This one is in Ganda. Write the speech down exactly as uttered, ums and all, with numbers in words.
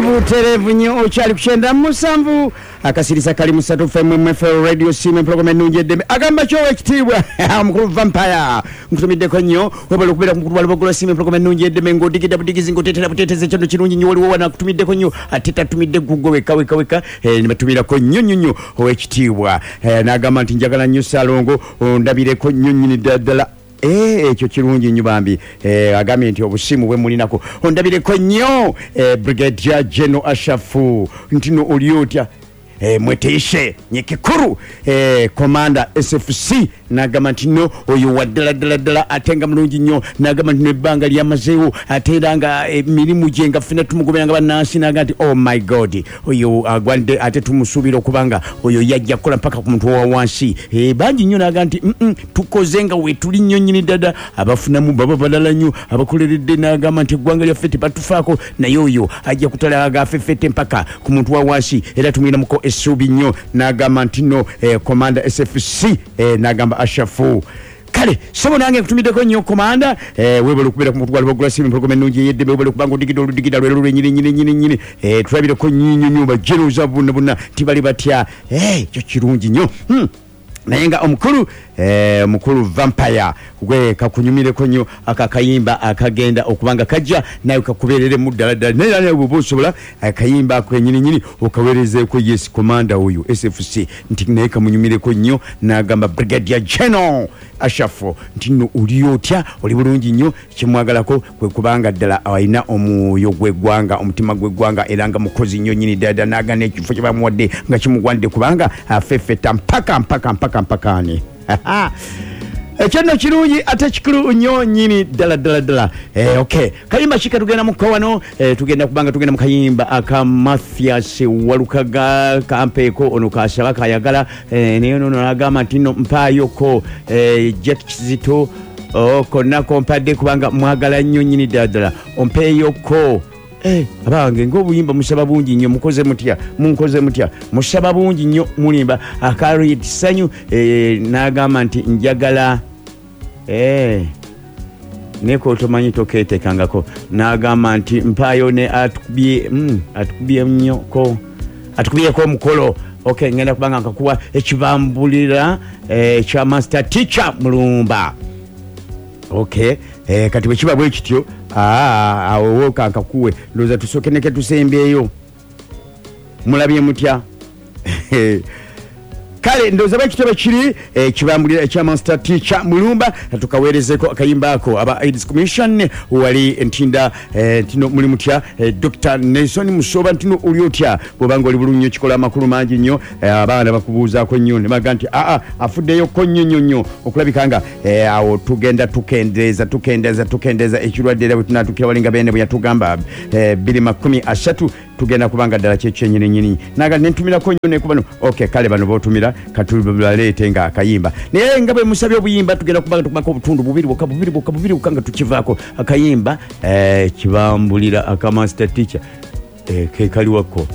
Butereevu nnyo, okyali ku kyenda musanvu akasirisa kali musatu F M Radio Simu, empologoma ennungi eddembe. Agamba kyowa ekitiibwa omukulu Vampire, nkutumiddeko nnyo, webala okubeera ku mukulu wa Lubogola. Simu, empologoma ennungi eddembe, ng'odigidda budigizi, ng'oteetera buteetezi, ekyono kirungi nnyo. Waliwo wana akutumiddeko nnyo, ate tatumidde gugwe wekka wekka wekka, eh, ne batumirako nnyo nnyo nnyo owekitiibwa. Eh, n'agamba nti njagala nnyo Ssalongo ondabireko nnyo nnyini ddala ddala. Eh, ekyo kirungi nnyo bambi. Eh, agambye nti obusimu bwe mulinako ondabireko nnyo, eh, Brigadier General Ashafu, nti no oli otya? Eh, mweteishe nyekikuru, eh, Commander S F C, nagamba nti no oyo wa ddala ddala ddala, ate nga mulungi nnyo. Nagamba nti nebbanga lyamazeewo, ate era nga emirimu gye nga ffena tumugobera nga bannansi. Naga nti oh my God, oyo agwadde, ate tumusuubira okubanga oyo yajja kukola mpaka ku muntu owa wansi. Eh, bangi nnyo. Naga nti mm -mm, tukoze nga wetuli nnyo nnyini ddala, abafunamu baba balala nnyo abakoleredde. Nagamba nti eggwanga lyaffe tebatufaako, naye oyo ajja kutalaga afefete mpaka ku muntu wa wansi, era tumwinamuko essuubi nnyo. Nagamba nti no eh, Commander S F C, eh, nagamba Ashafu. Kale sebo, nange nkutumiddeko nnyo Commander, eh, webale okubeera ku mutwalo bagula simu, empologoma ennungi eyeddembe. Webale okubanga odigida oludigida lwero lwenyini nyini nyini nyini. eh, tulabireko nnyo nnyo nnyo bajeruza bonna bonna nti bali batya. eh, ekyo kirungi nnyo. hmm. naye nga omukulu eh, omukulu Vampire gwe kakunyumireko nnyo akakayimba akagenda okubanga kajja nawe kakubeereremu ddala ddala. Naye era nawe bw'oba osobola akayimba ako kenyininyini okaweerezeeko yes Commander oyo S F C, nti naye kamunyumireko nnyo. N'agamba Brigadier General Ashafu nti nno oli otya? Oli bulungi nnyo. Kimwagalako kwe kubanga ddala alina omwoyo gw'eggwanga, omutima gw'eggwanga, era nga mukozi nnyo nnyini ddala ddala. N'agamba ekifo kye bamuwadde nga kimugwanidde, kubanga afefeta mpaka mpaka mpaka mpakaani. Ekyo nno kirungi ate kikulu nnyo nnyini ddala ddala ddala. Eh, okay, kayimba kika tugenda muko wano? eh, tugenda kubanga tugenda mu kayimba aka Mathias Walukaga kampeeko ono kasaba kayagala. eh, naye nono nagamba nti no mpaayoko eh, Jet Kizito, oh, konna kompadde kubanga mwagala nnyo nnyini ddala ddala, ompeeyoko. Eh, abange ngaobuyimba musaba bungi nnyo, mukoze mutya? Munkoze mutya? Musaba bungi nnyo, mulimba. Akariet Sanyu, eh, n'agamba nti njagala eh, naye kotomanyi toketekangako. N'agamba nti mpaayo ne atukubye mm, atukubye nnyo ko atukubyeko omukolo. Ok, ngenda kubanga nkakuwa ekibambulira ekya eh, Master Teacher Mulumba. Ok, eh, kati bwekiba bwe kityo, awo wo kankakuwe. Ndowooza tusooke neke tusembyeyo. Mulabye mutya? Kale ndowooza bwe kityo bwe kiri, ekibambulira ekya Master Teacher Mulumba tukaweerezeko akayimba ako. Aba AIDS Commission wali Ntinda, eh, ntino muli mutya? eh, Doctor Nelson Musoba, ntino oli otya? Bwobanga oli bulungi nnyo, kikola amakulu mangi nnyo. eh, abaana bakubuuzaako nnyo ne baga nti aa afuddeyoko nnyo nnyo nnyo okulabika nga eh, awo tugenda tukendeeza tukendeeza tukendeeza ekirwadde, era bwe tunaatuukira wali nga bene bwe yatugamba eh, bbiri makumi asatu tugenda kubanga ddala kyekyenyini nyini. Naga nentumirako nnyo nekuba no. Ok, kale bano botumira katubaleete nga akayimba, naye nga bwe musabye obuyimba tugenda kubanga tukubako obutundu bubiri bwokka, bubiri bwokka, bubiri bwokka nga tukivaako. Akayimba eh, kibambulira aka Master Teacher eh, ke kaliwako.